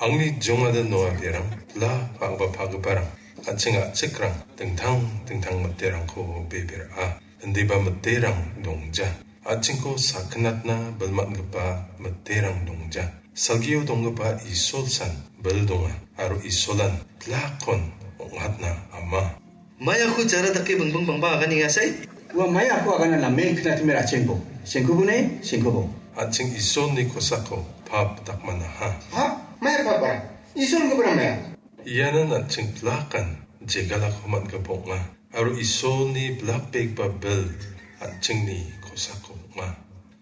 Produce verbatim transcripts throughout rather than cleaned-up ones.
Angni jongada noa berang, la pa·gipa pagiparang, an·ching a·chikrang, dingtang dingtang miterangko bebera. Indiba miterang dongja. An·chingko sakgnatna bilmatgipa miterang dongja. Salgio donggipa Isolsan bil donga, aro Isolan plakkon ong·atna ama. Maiako jara dake bingbing bangba aganengasai? Ua maiako agana namen knatime ra·chengbo. Sengkubo ne, sengkubo. An·ching Isolni kosako pap dakmanaha. Ha? Mai pap bara? Isol gubra maya? Ianan an·ching plakan jegalako man·gipa ong·a. Aro Isolni blak pekba bil an·chingni kosako ong·a.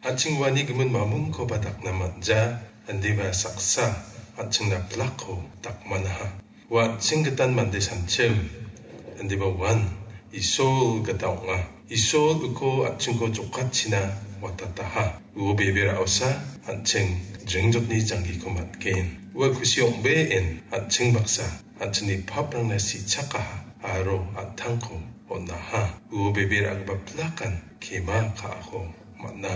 An·ching uani gimin mamungkoba dakna man·ja, indiba saksa an·chingna blakko dakmanaha. Ua an·ching gitan mande sanchim, indiba uan Isol gita ong·a. Isol uko an·chingko jokatchina watataha. Uo bebe ra·osa an·ching jringjotni janggiko man·gen. Ua kusi ong·been an·ching baksa an·chingni paprangna sichakaha aro an·tangko on·aha. Uo bebe ra·gipa plakan kema ka·ako man·a.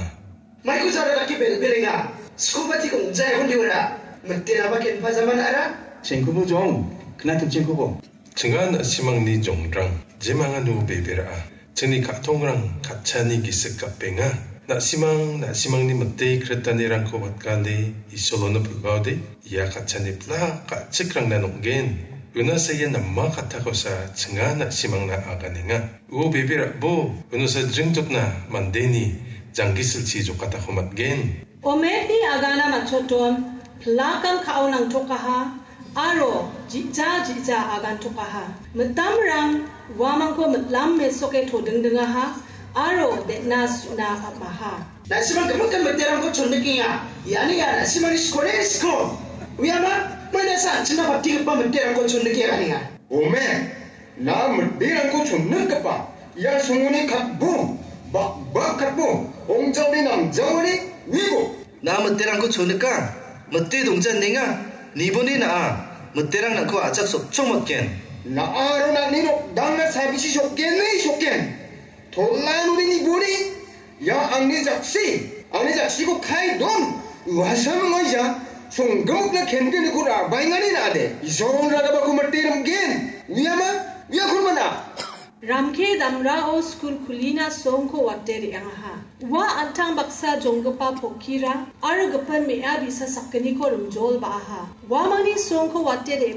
Maiko jara dake bel-, belenga. Skoba tik ong·jae hondiora. Miteraba kenpa jaman ara. Sengkubo jong, knatimchengkubo. Chinga na·simangni jongrang, jemangano bebe ra·a. Chingni ka·tongrang katchani gisik gapenga. Na·simang, na·simangni mite kritanirangko watgale, Isolono pilbaode, ia katchani pla ka·chikrangna nong·gen. Una saia nama kattakosa chinga na·simangna aganenga. Uo bebe ra·bo, unosa jringjotna mandeni janggisilchi jokatako man·gen. Ometni agana matchoton, plakan ka·o nangtokaha, aro ji·ja ji·ja agantokaha. Mitamrang uamangko mitlam mesoke todingdingaha, aro de·na su·na am·aha. Na·simang gimikan miterangko chondikenga. Iani ia na·simangni skone sko. Uiama, maina sa an·chingna patigipa miterangko chondikenga. Ome, na miterangko chonnikgipa ia songoni katbo, bakbak katbo, ong·jaode namjaode uibo. Na miterangko chonnika, mite dongjanenga, niboni na·a, miterang nangko ajak sotchong matgen. Na·a aro nangni nokdangna sabisi sokgen, ne sokgen. Tola nuni niboni, ia angni jaksi, angni jaksiko kai don, uasam ngoija, songgimokna kengeniko rabaengani na·ade, Isol ragabako mate rimgen, uiama, uiakon mana. Ramke damrao skul kulina songko wate re·angaha. Ua an·tang baksa jonggipa pokkirang aro gipin me·a bi·sa sakgniko rimjol ba·aha. Uamangni songko wate re-